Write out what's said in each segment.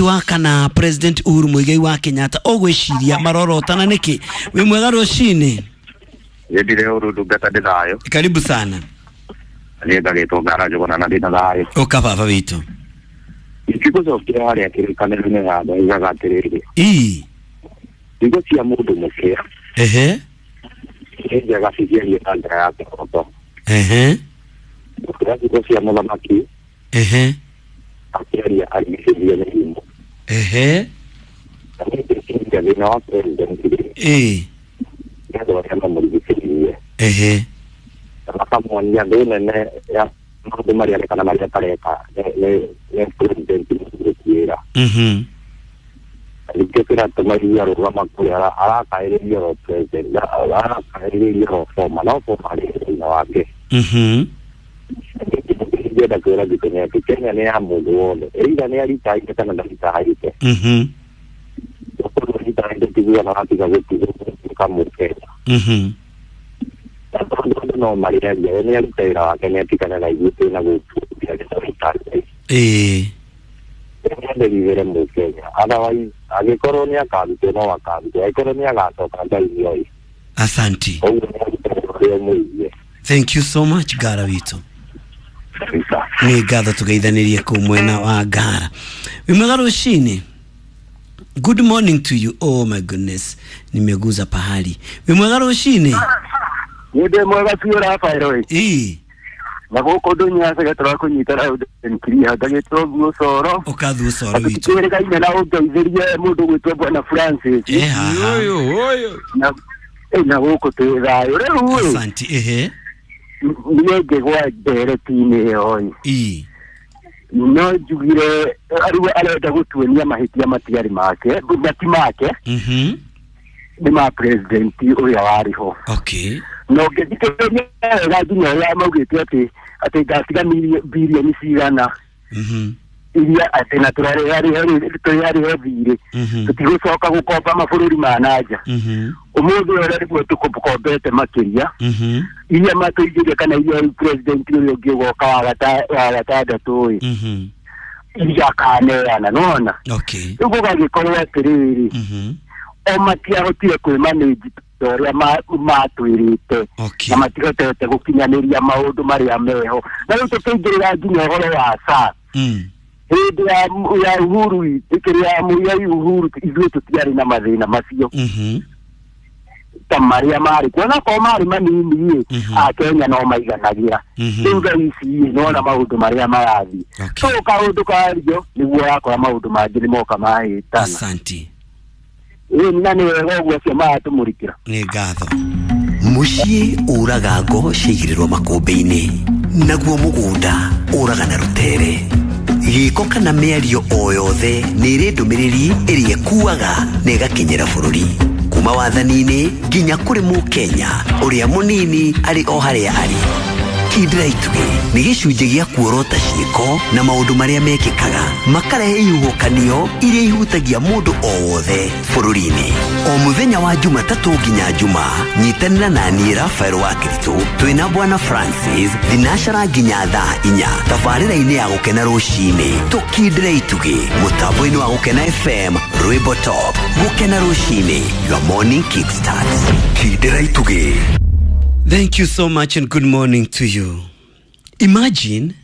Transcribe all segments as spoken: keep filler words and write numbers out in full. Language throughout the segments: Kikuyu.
Wa kana President Uhuru Muigai wa Kenyatta ũgwĩciria marorotana nĩkĩ? Wĩ mwega rũcinĩ. Nĩ ũru ndungata ndĩ thayũ. Karibu sana. Niĩ ngagĩtwo Ngara Njũgũna na ndĩna thayũ. Ũka baba witũ. Ingĩgũcokia harĩa kĩrĩkanĩro-inĩ handũ yugaga atĩrĩrĩ, Ii. Ciugo cia mũndũ mũkĩa Ehe. nĩ njega cikĩario na njĩra ya kĩhooto Ehe. gũkĩra ciugo cia mũthamaki Ehe. akĩaria arigicĩirie mĩrimũ. Ehe. Na niĩ ngwĩciria thĩna wa president rĩ, Ii. nĩ andũ arĩa mamũrigicĩirie Ehe. na makamuonia thĩ nene ya maũndũ marĩa areka na marĩa atareka nĩ- nĩ nĩ president mũgũtuĩra. Mhm. Ningĩ kĩratũma iria rũgama kũrĩa arakaĩrĩria ro president, arakaĩrĩria ro former, no former arĩ thĩna wake. Mhm. Ingĩenda kwĩra Gĩkenya atĩ Kenya nĩ ya mũndũ wothe, either nĩ aritaite kana ndaritaite. Mhm. Ũkorwo aritaite tiguo na watiga gũtuĩka Mũkenya. Mhm. Na tondũ andũ no marĩaria, we nĩ aruta wĩra wake, nĩ atigane na ithuĩ twĩna gũkũ gĩtaritaite. Ĩĩ. Nĩendekithĩre Mũkenya, otherwise angĩkorwo nĩ akarutwo no akarutwo, angĩkorwo nĩ agacoka Ngai nĩoĩ. Asanti. Koguo nĩ arute ũrĩa ũmũigie. Thank you so much, Ngara witũ. Kabisa. Nĩ ngatho tũgeithanĩrie kũu mwena wa Ngara. Wĩ mwega rũcinĩ. Good morning to you. Oh my goodness, nimeguza pahali. Wĩ mwega rũcinĩ. Nĩ ndĩ mwega biũ Rafael ĩ. Ĩĩ. Na gũkũ ndũnyacege tũrakũnyita raudenkiria ngagĩtwo guo coro. Ũkathuo coro witũ. Twĩrĩgaine na ũngeithĩrie mũndũ gwĩtwo Bwana Francis. Ĩ haha. Ũyũ ũyũ. Na ĩ, na gũkũ twĩ thayũ rĩu ĩ. Asanti. Ehe. Niĩ ngĩgwa ndereti-inĩ ĩyo ĩ, Ĩĩ. no njugire rĩu arenda gũtuonia mahĩtia matiarĩ make, mati make Mhm. nĩ ma president ũrĩa warĩ ho. Okay. Na ũngĩthikĩrĩria wega nginya ũrĩa maugĩte atĩ atĩ ngatiga birioni cigana Mhm. iria atĩ na tũrarĩha thirĩ, Mhm. tũtigũcoka gũkomba mabũrũri ma nanja. Mhm. Ũmũthĩ ũrĩa nĩguo tũkombete makĩria Mhm. iria matũigĩire kana iria rĩu president ũrĩa ũngĩ ũgoka wa gata- wa gatandatũ ĩ, Mhm. iria akaneana nona. Okay. Rĩu gũgagĩkorwo atĩrĩrĩ, Mhm. o matiahotire kwĩmanĩnji ta ũrĩa ma- matwĩrĩte Okay. na matihotete gũkinyanĩria maũndũ marĩa meho. Na rĩu tũkĩingĩrĩra nginya ũhoro wa S A Mm. hĩndĩ ya ya Uhuru, kĩrĩa ya ya Uhuru, ithuĩ tũtiarĩ na mathĩna macio Mhm. ta marĩa marĩ kuo, onakorwo marĩ manini ĩ, Mhm. Akenya no maiganagĩra. Mhm. Rĩu thaa ici ĩ, nĩwona maũndũ marĩa marathiĩ. Okay. So kaũndũ kario nĩguo wakora maũndũ mangĩ nĩ moka mahĩtana. Asanti. Ĩ, na nĩ wega ũguo acio maratũmũrĩkĩra. Nĩ ngatho. Mũciĩ ũraga ngo ciaigĩrĩrwo makũmbĩ-inĩ, naguo mũgũnda ũraga na rũtere. Gĩko kana mĩario o yothe nĩ ĩrĩ ndũmĩrĩri ĩrĩa ĩkuaga na ĩgakinyĩra bũrũri kuma wathani-inĩ nginya kũrĩ Mũkenya ũrĩa mũnini arĩ o harĩa arĩ. Kindĩra Itugĩ nĩ gĩcunjĩ gĩa kuorota ciĩko na maũndũ marĩa mekĩkaga makarehe ihuhũkanio iria ihutagia mũndũ o wothe bũrũri-inĩ. O mũthenya wa Jumatatũ nginya Juma, nyitanĩra na niĩ Rafael wa Kiritũ twĩna Bwana Francis thinacara nginya thaa inya tabarĩra-inĩ ya Gũkena Rũcinĩ. Tũkindĩre itugĩ mũtambo-inĩ wa Gũkena F M, rwĩmbo top. Gũkena Rũcinĩ, your morning kickstart. Kindĩra itugĩ. Thank you so much and good morning to you. Imagine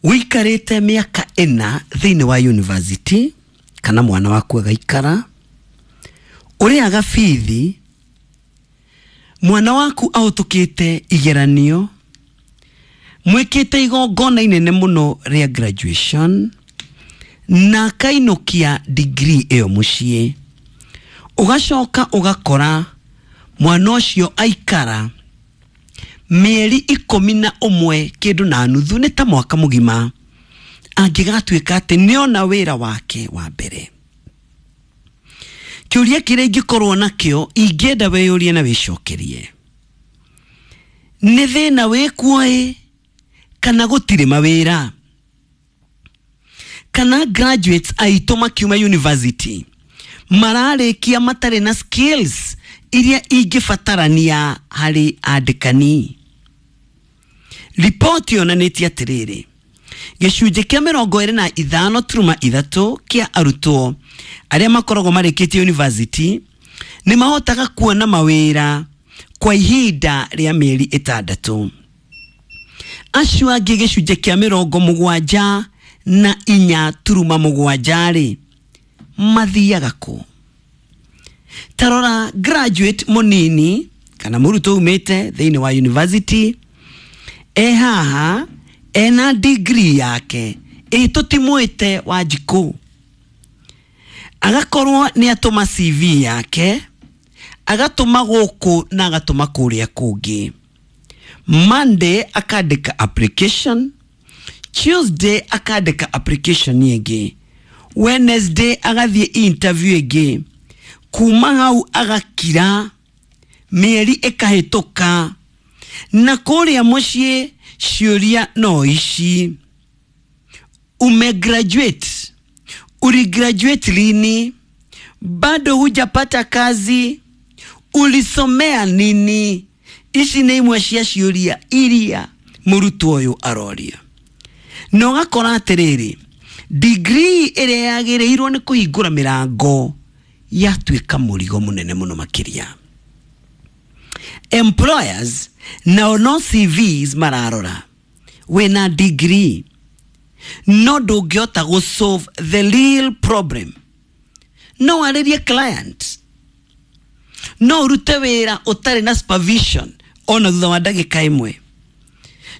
wikarĩte mĩaka ĩna thĩinĩ wa university kana mwana waku agaikara ũrĩaga bithi, mwana waku ahĩtũkĩte igeranio, mwĩkĩte igongona inene mũno rĩa graduation na akainũkia degree ĩyo mũciĩ, ũgacoka ũgakora mwana ũcio aikara mĩeri ikũmi na ũmwe kĩndũ na nuthu, nĩ ta mwaka mũgima, angĩgatuĩka atĩ nĩona wĩra wake wa mbere. Kĩũria kĩrĩa ingĩkorwo nakĩo ingĩenda wĩyũrie na wĩcokerie, nĩ thĩna wĩkuo ĩ kana gũtirĩ mawĩra, kana graduates aitũ makiuma university mararĩkia matarĩ na skills iria ingĩbatarania harĩ andĩkani? Ripoti yonanĩtie atĩrĩrĩ, Gĩcunjĩ kĩa mĩrongo ĩrĩ na ithano turuma ithatũ kĩa arutwo arĩa makoragwo marĩkĩtie university nĩ mahotaga kuona mawĩra kwa ihinda rĩa mĩeri ĩtandatũ. Acio angĩ gĩcunjĩ kĩa mĩrongo mũgwanja na inya turuma mũgwanja rĩ mathiaga kũ? Tarora graduate mũnini kana mũrutwo umĩte thĩinĩ wa university e haha ena degree yake ĩ tũtimwĩte Wanjikũ, agakorwo nĩ atũma C V yake, agatũma gũkũ na agatũma kũrĩa kũngĩ. Monday akandĩka application, Tuesday akandĩka application ĩngĩ, Wednesday agathiĩ interview ĩngĩ, kuma hau agakira mĩeri ĩkahĩtũka, na kũrĩa mũciĩ ciũria no ici: umegraduate, uligraduate lini, bado hujapata kazi, ulisomea nini? Ici nĩ imwe cia ciũria iria mũrutwo ũyũ aroria. Na ũgakora atĩrĩrĩ, degree ĩrĩa yagĩrĩirwo nĩ kũhingũra mĩrango yatuĩka mũrigo mũnene mũno makĩria. Employers nao no C Vs mararora, wĩna degree no ndũngĩhota gũ solve the real problem. No warĩrie client, no ũrute wĩra ũtarĩ na supervision ona thutha wa ndagĩka ĩmwe,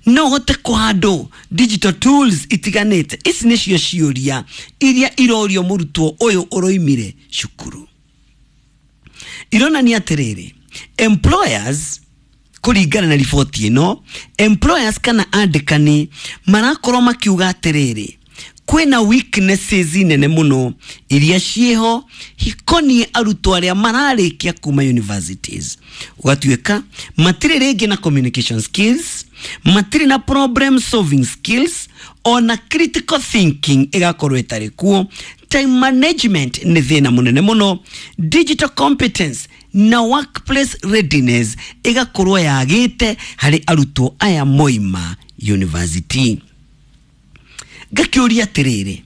no ũhote kũhandle digital tools itiganĩte. Ici nĩcio ciũria iria irorio mũrutwo ũyũ ũroimire cukuru. Ironania atĩrĩrĩ, employers kũringana na riboti ĩno, employers kana andĩkani marakorwo makiuga atĩrĩrĩ, kwĩna weaknesses nene mũno iria ciĩho hikoniĩ arutwo arĩa mararĩkia kuma universities. Ũgatuĩka matirĩ rĩngĩ na communication skills, matirĩ na problem solving skills, ona critical thinking ĩgakorwo ĩtarĩ kuo. Time management nĩ thĩna mũnene mũno, digital competence na workplace readiness ĩgakorwo yagĩte harĩ arutwo aya moima university. Ngakĩũria atĩrĩrĩ,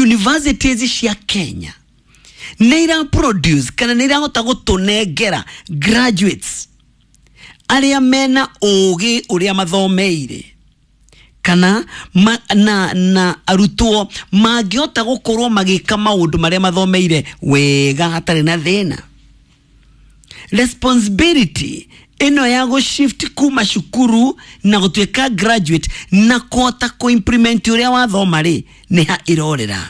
universities cia Kenya nĩ ira produce kana nĩ irahota gũtũnengera graduates arĩa mena ũgĩ ũrĩa mathomeire, kana ma, na, na arutwo mangĩhota gũkorwo magĩka maũndũ marĩa mathomeire wega hatarĩ na thĩna? Responsibility ĩno ya gũ shift kuma cukuru na gũtuĩka graduate na kũhota kũ-implement ũrĩa wathoma rĩ, nĩ ha ĩrorera?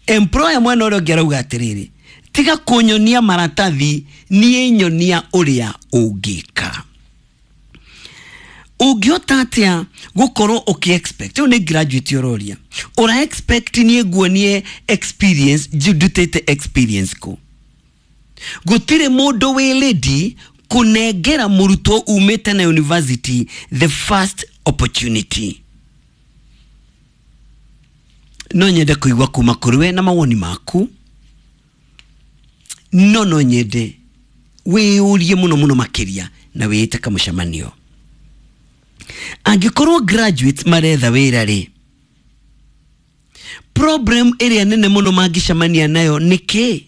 Employer mwena ũrĩa ũngĩ arauga atĩrĩrĩ, tiga kũnyonia maratathi, niĩ nyonia ũrĩa ũngĩka. Ũngĩhota atĩa gũkorwo ũkĩ expect, rĩu nĩ graduate ũroria, ũra expect niĩ nguonie experience, ndutĩte experience kũ? Gũtirĩ mũndũ wĩ ready kũnengera mũrutwo umĩte na university the first opportunity. No nyende kũigua kuma kũrĩ we na mawoni maku, no no nyende wĩyũrie mũno mũno makĩria na wĩĩte kamũcemanio. Angĩkorwo graduates maretha wĩra rĩ, problem ĩrĩa nene mũno mangĩcemania nayo nĩ kĩ?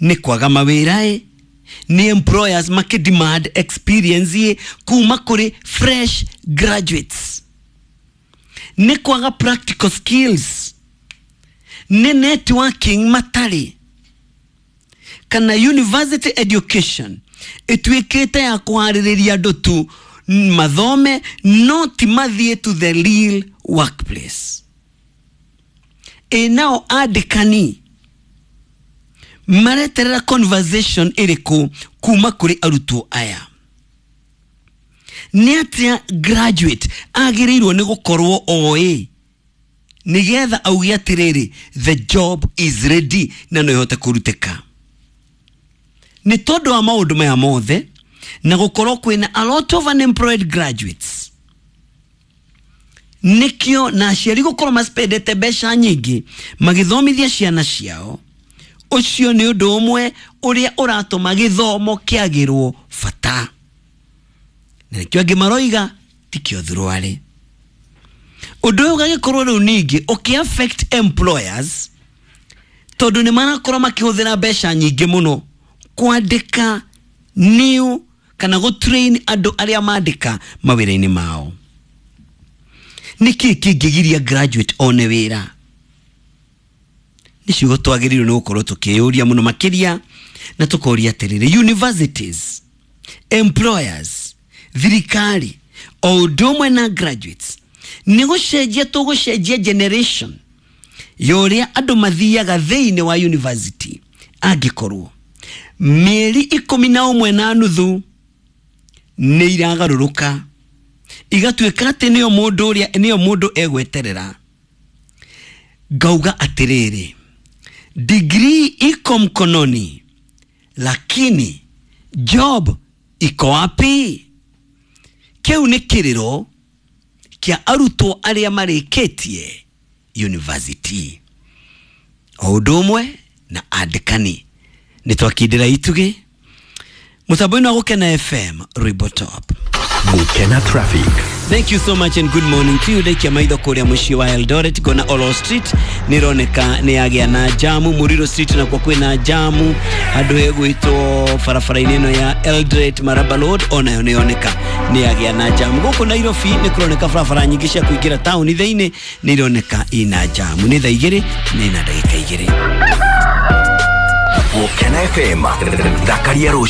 Nĩ kwaga mawĩra ĩ, nĩ employers makĩ demand experience ĩ kuma kũrĩ fresh graduates, nĩ kwaga practical skills, nĩ networking matarĩ, kana university education ĩtuĩkĩte ya kũharĩrĩria andũ tu mathome no ti mathiĩ to the real workplace. Ĩ nao andĩkani mareterera conversation ĩrĩkũ kuma kũrĩ arutwo aya? Nĩ atĩa graduate agĩrĩirwo nĩ gũkorwo oĩ nĩgetha auge atĩrĩrĩ, the job is ready na no ĩhote kũrutĩka? Nĩ tondũ wa maũndũ maya mothe na gũkorwo kwĩna a lot of unemployed graduates, nĩkĩo na aciari gũkorwo maspendete mbeca nyingĩ magĩthomithia ciana ciao. Ũcio nĩ ũndũ ũmwe ũrĩa ũratũma gĩthomo kĩagĩrwo bata, na nĩkĩo angĩ maroiga tikĩo thuruarĩ. Ũndũ ũyũ ũgagĩkorwo rĩu ningĩ ũkĩ affect employers, tondũ nĩ marakorwo makĩhũthĩra mbeca nyingĩ mũno kwandĩka new kana gũ-train andũ arĩa mandĩka mawĩra-inĩ mao. Nĩkĩ kĩngĩgiria graduate one wĩra? Nĩ ciugo twagĩrĩirwo nĩ gũkorwo tũkĩyũria mũno makĩria, na tũkoria atĩrĩrĩ, universities, employers, thirikari o ũndũ ũmwe na graduates, nĩ gũcenjia tũgũcenjia generation ya ũrĩa andũ mathiaga thĩinĩ wa university? Angĩkorwo mĩeri ikũmi na ũmwe na nuthu nĩ iragarũrũka igatuĩka atĩ nĩyo mũndũ ũrĩa nĩyo mũndũ egweterera, ngauga atĩrĩrĩ, degree iko mkononi lakini job iko wapi? Kĩu nĩ kĩrĩro kĩa arutwo arĩa marĩkĩtie university o ũndũ ũmwe na andĩkani. Nĩ twakindĩra itugĩ mũtambo-inĩ wa Gũkena F M, Rwimbo Top. Gukena Traffic. Thank you so much and good morning to you. Ndaikia maitho kũrĩa mũciĩ wa Eldoret, ngona Olo Street nĩ ĩroneka nĩ yagĩa na jamu. Muriro Street nakuo kwĩna jamu. Handũ hegwĩtwo barabara-inĩ ĩno ya Eldoret Maraba Road onayo nĩ yoneka nĩ yagĩa na jamu. Gũkũ Nairobi nĩ kũroneka barabara nyingĩ cia kũingĩra taũni thĩinĩ nĩ ironeka ina jamu. Nĩ thaa igĩrĩ na ina ndagĩka igĩrĩ. Gukena F M. Thakaria rũciũ.